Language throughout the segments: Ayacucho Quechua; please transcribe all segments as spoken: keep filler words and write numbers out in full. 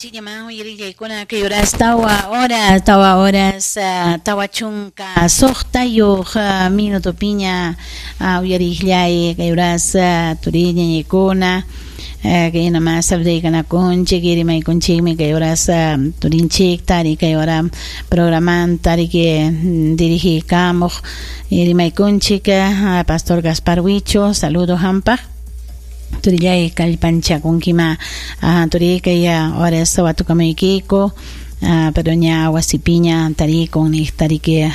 Uyarillaykuna kay horas tawa horas tawa horas tawa chunka suqtayuq minutopiña uyarillay kay horas turiñañaykuna kay nama saludaykunakunchik rimaykunchikmi kay horas turinchikta kay hora programanta riki dirigikamuq rimaykunchik Pastor Gaspar Huicho, saludo hampaq. Turillay kallpanchakunkima turi kay horas watukamuykiyku pero ña wasipiña tarikun niq tariki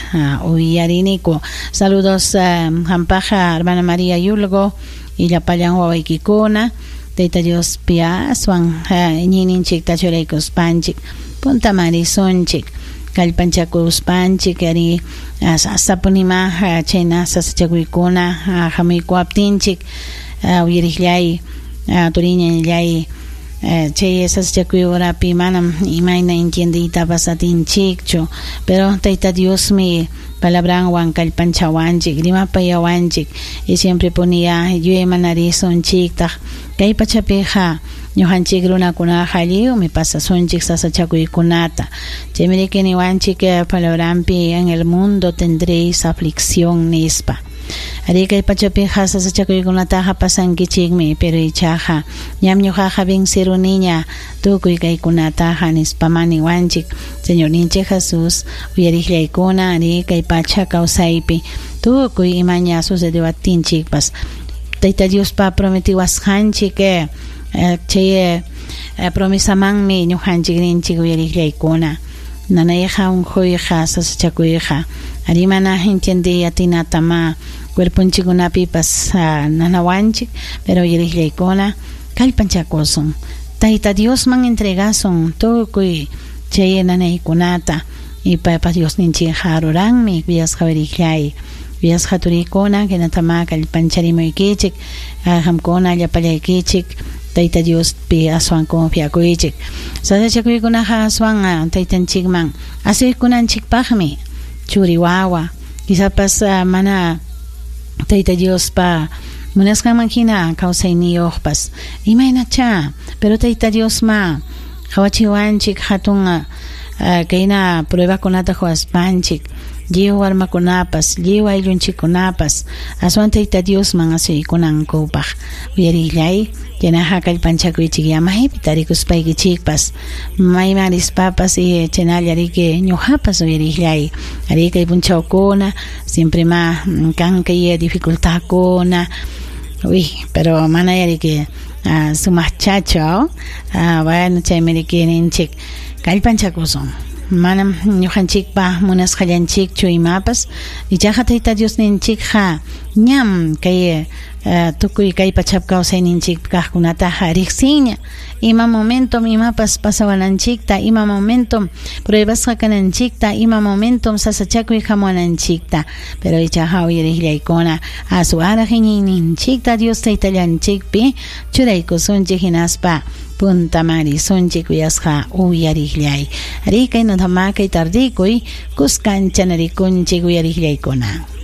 uyariniku. Saludos hampaqa hermana María Yulgo y llapallan wawaykikuna Tayta Diospi aswan iñiyninchikta churaykuspanchik puntaman risunchik kallpanchakuspanchik ari sasapunima chayna sasachakuykuna hamuykuwaptinchik uyariqllay turiñallay chay sasachakuy horapi manam imayna entiendeytapas atinchikchu pero Tayta Diosmi palabranwan kallpanchawanchik rimapayawanchik y siempre ponía yuyaymanarisunchiktaq kay pachapiqa ñuqanchik runakunaqa lliwmi pasasunchik sasachakuykunata chaymi riki niwanchik palabranpi en el mundo tendréis aflicción nispa. Ari kay pachapiqa sasachakuykunataqa pasankichikmi pero ichaqa ñam ñuqaqa venciruniña tukuy kaykunataqa nispa niwanchik Señorninchik Jesús uyariqllaykuna ari kay pacha kawsaypi tukuy imaña sucedewaptinchikpas Tayta Diospa prometiwasqanchik chay promesamanmi ñuqanchik rinchik uyariqllaykuna nanayqa unquyqa sasachakuyqa ari mana entiendiy atinatama cuerponchikkunapipas nanawanchik pero uyariqllaykuna kallpanchakusun Tayta Diosman entregasun tukuy chay nanaykunata y paypa Diosninchikqa ruranmi kuyasqa uyariqllay kuyasqa turikuna hinatama kallpancharimuykichik qamkuna llapallaykichik Tayta Diospi aswan confiakuychik sasachakuykunaqa aswan taytanchikman asuykunanchikpaqmi churi wawa quizás mana Tayta Diospa munasqanman hina kawsayniyuqpas imaynacha pero Tayta Diosma qawachiwanchik hatun kayna pruebakunata huaspanchik lliw warmakunapas lliw ayllunchikkunapas aswan Tayta Diosman asuykunankupaq uyarillay chaynaqa kallpanchakuychik maypi tarikuspaykichikpas mayman rispapas y chaynalla riki ñuqapas uyarillay ari kay punchawkuna siempre ma kan kay dificultadkuna uy pero mana riki sumaqchachu bueno chaymi riki ninchik kallpanchakusun manam ñuqanchikpa munasqallanchikchu imapas ichaqa Tayta Diosninchikqa ñam kay tukuy kay pachap kawsayninchik kaqkunataqa riqsinña ima momentom imapas pasawananchikta ima momentom pruebasqa kananchikta ima momentom sasachakuy hamuwananchikta pero ichaqa uyariqllaykuna aswanraq iñiyninchikta Dios taytallanchikpi churaykusunchik hinaspa puntaman risunchik kuyasqa uyariqllay ari kay notama kay tardikuy kuskancha narikunchik uyariqllaykuna.